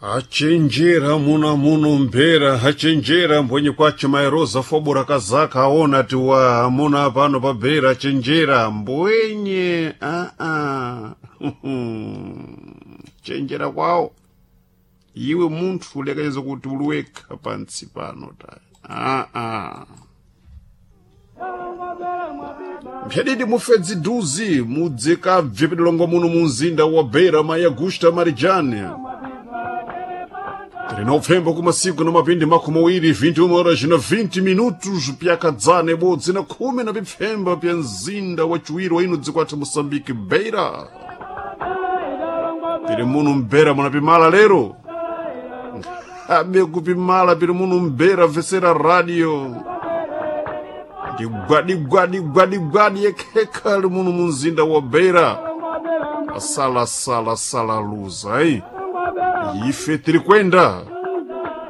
Achenjera muna muno mphera, achenjera mbwenye kwache mairoza fobora kazaka aona ti wa amuna pano pabhera achenjera mbwenye aa chenjera kwawo iwe munthu ulekeza kuti uliwekha pantsi pano ta aa mphedidi mufedzi duzi mudzikabve pedolongo muno mu mzinda wa beira mai Augusta Marijane. Tiri upfembo kumasiku na mapindi makumi awiri 21 horas na 20 minutos pyakadzana ibodzi na khumi na pipfemba pya mzinda wa chiwiri wa ino dziko athu Moçambique Beira. Tiri muno mbera munapimala lero abe kupimala piri muno mbera vesera radio digwadi gwadi gwadi gwadi yekhekha ali muno mu mzinda wa Beira. Sala sala sala luza ai ife tiri kwenda.